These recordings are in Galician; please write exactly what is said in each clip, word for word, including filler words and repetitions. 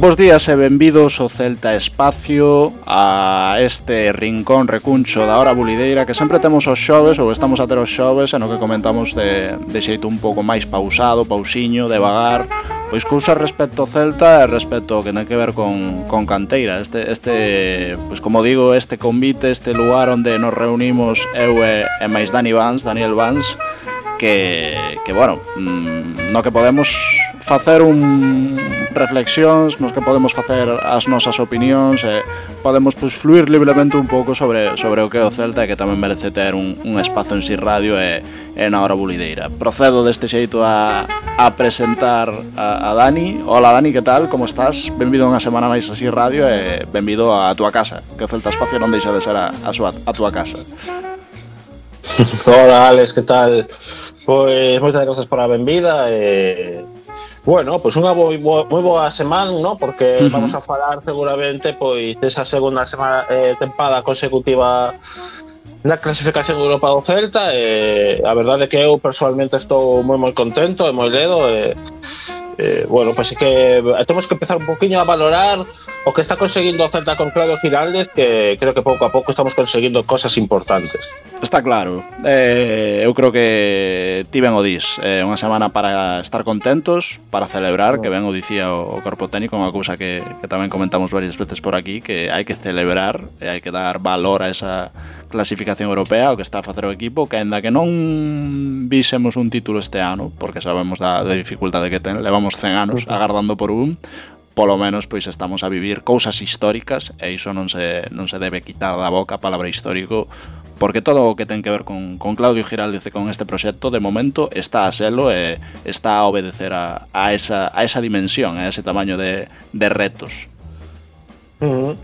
Bos días e benvidos ao Celta Espacio, a este rincón recuncho da hora bulideira que sempre temos os xoves, ou estamos a ter os xoves, e no que comentamos de, de xeito un pouco máis pausado, pausiño, devagar, pois cousas respecto ao Celta e respecto ao que ten que ver con, con canteira. Este, este, pois como digo, este convite, este lugar onde nos reunimos eu e, e máis Dani Vans, Daniel Vans, que, que bueno, no que podemos facer un reflexións, nos que podemos facer as nosas opinións e podemos pois, fluir libremente un pouco sobre, sobre o que é o Celta e que tamén merece ter un, un espazo en Si Radio e, e na hora bulideira. Procedo deste xeito a, a presentar a, a Dani. Hola Dani, que tal? Como estás? Benvido unha semana máis a Si Radio e benvido a túa casa, que o Celta Espacio non deixa de ser a, a, súa, a túa casa. Hola Alex, que tal? Pois moitas grazas por a benvida e... Bueno, pois unha moi boa, moi boa semana, ¿no? Porque uh-huh. vamos a falar seguramente pois desa segunda semana eh, tempada consecutiva na clasificación de Europa do Celta e a verdade é que eu personalmente estou moi moi contento e moi ledo e Eh, bueno, pois pues é que temos que empezar un poquinho a valorar o que está conseguindo o Celta con Claudio Giraldez, que creo que pouco a pouco estamos conseguindo cosas importantes. Está claro, eh, eu creo que ti ben o dis, é eh, unha semana para estar contentos, para celebrar, que ben o dicía o, o corpo técnico, unha cousa que, que tamén comentamos varias veces por aquí, que hai que celebrar e hai que dar valor a esa clasificación europea, o que está a facer o equipo, que ainda que non vísemos un título este ano, porque sabemos da, da dificultade que ten, levamos cen anos agardando por un, polo menos pois estamos a vivir cousas históricas e iso non se, non se debe quitar da boca a palabra histórico, porque todo o que ten que ver con, con Claudio Giraldez e con este proxecto de momento está a selo e está a obedecer a, a, esa, a esa dimensión, a ese tamaño de, de retos. Uh-huh.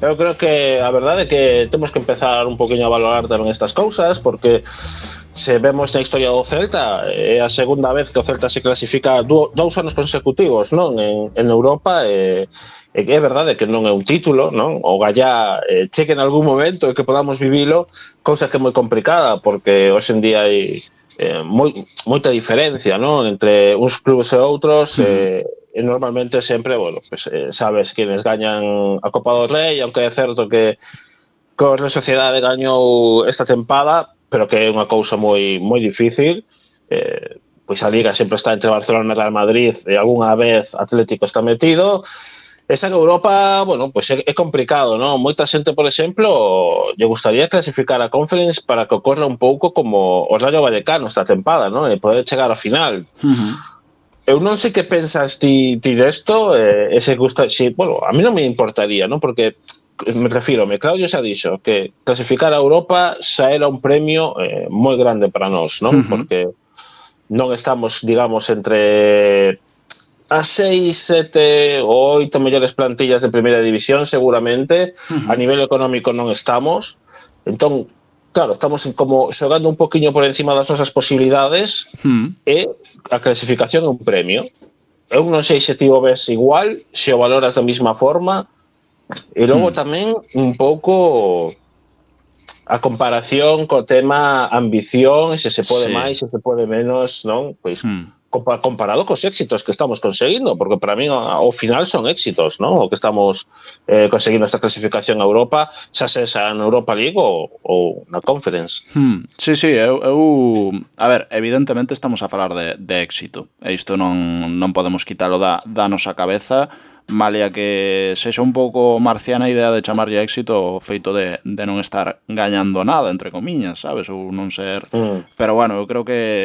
Eu creo que a verdade é que temos que empezar un poquinho a valorar tamén estas cousas, porque se vemos na historia do Celta é a segunda vez que o Celta se clasifica dous, dous anos consecutivos, non, en, en Europa e, e que é verdade que non é un título, non? O gallá eh, cheque en algún momento e que podamos vivilo, cousa que é moi complicada porque hoxe en día hai eh, moi, moita diferencia, non, entre uns clubes e outros. uh-huh. e E normalmente sempre, bueno, pues, eh, sabes quienes gañan a Copa do Rei, aunque é certo que que a Real Sociedade gañou esta tempada, pero que é unha cousa moi moi difícil. Eh, pois a Liga sempre está entre Barcelona e Real Madrid e algunha vez Atlético está metido. Esa en Europa, bueno, pois é, é complicado, non? Moita xente, por exemplo, lle gustaría clasificar a Conference para que ocorra un pouco como o Rayo Vallecano esta tempada, non? E poder chegar ao final. Uh-huh. Eu non sei que pensas ti, ti desto, eh, ese gusta, si, bueno, a mí non me importaría, non? Porque me refiro, me Claudio xa dixo que clasificar a Europa xa era un premio eh, moi grande para nós, non? Uh-huh. Porque non estamos, digamos, entre as seis, sete ou oito mellores plantillas de primeira división, seguramente. Uh-huh. A nivel económico non estamos. Entón, claro, estamos como xogando un poquinho por encima das nosas posibilidades. mm. E a clasificación é un premio. Eu non sei se ti o ves igual, se o valoras da mesma forma, e logo mm. tamén un pouco a comparación co tema ambición, se se pode sí. máis, se se pode menos, non? Pois mm. comparado cos éxitos que estamos conseguindo, porque para mí ao final son éxitos, non? O que estamos eh, conseguindo esta clasificación a Europa, xa sexa na Europa League ou, ou na Conference. Hmm, sí, sí, eu, eu... A ver, evidentemente estamos a falar de, de éxito, e isto non, non podemos quitalo da, da nosa cabeza, malia que sexa un pouco marciana a idea de chamarlle éxito o feito de, de non estar gañando nada, entre comiñas, sabes? Ou non ser... Mm. Pero bueno, eu creo que